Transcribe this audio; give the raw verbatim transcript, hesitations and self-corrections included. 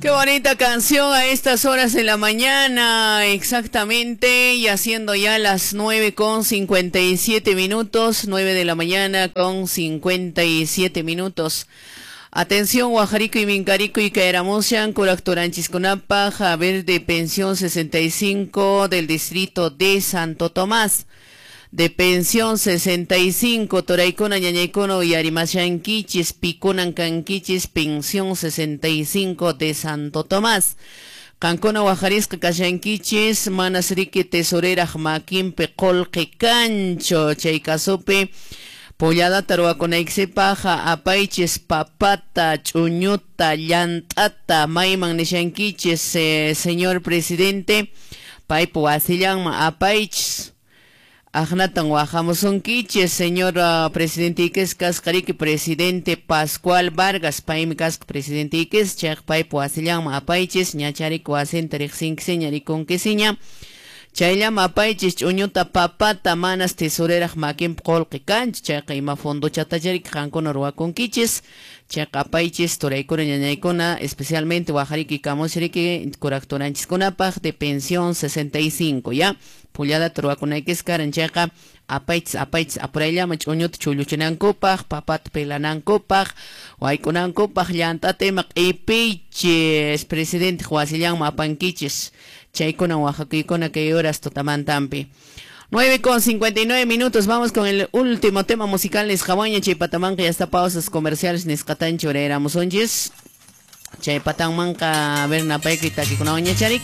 Qué bonita canción a estas horas de la mañana, exactamente, y haciendo ya las nueve con cincuenta y siete minutos, nueve de la mañana con cincuenta y siete minutos. Atención, Guajarico y Mincarico y Caeramushan, Curactoranchisconapa, Javier de Pensión sesenta y cinco del distrito de Santo Tomás. De Pensión sesenta y cinco, Toraicona, Ñañaycono y Arimashanquichis, Picunan Canquichis, Pensión sesenta y cinco de Santo Tomás. Cancona, Guajarisca, Cashanquichis, Manasrique, Tesorera, Jmaquimpe, Colque, Cancho, Chaycasope, Pollada, Taruaconaixepaja, Apaiches, Papata, Chuñuta, Llantata, Maiman, Nishanquiches, eh, señor presidente, Paipo, Asillanma, Apaiches. Ajnatan Guajamusunquiches, señor uh, presidente Iques, Cascarique, presidente Pascual Vargas, Paimi Casco, presidente Iques, Chak Paipo Asillanma Apaiches, Ñacharico Asenta Rixinquisiña, Riconquisiña, Chaylama Apaiches, Chuñuta Papata, Manas Tesorera, Maquim Colque Canch, Chaka Ima Fondo Chatacharik, Jancona Ruaconquiches, Chaka Apaiches, Toraicona Ñañaicona, especialmente Guajariki Camoshrique, Curactoranchisconapaj, de Pensión sesenta y cinco, ¿ya? Pullada truakunaykis karan chayqa apaychis apaychis apurayllaman ch'uñuta chulluchinankupaq papata pilanankupaq waykunankupaq llant'ata ima q'ipiychis presidente wasillanman apankichis chaykunan wajakuykuna kay horas tutamantampi. nueve con cincuenta y nueve minutos, vamos con el último tema musical nisqawaña chaypatamanqa ya está pausas comerciales nisqatanchu urayramusunchis chaypatanmanqa a ver napayki takikunawaña charik.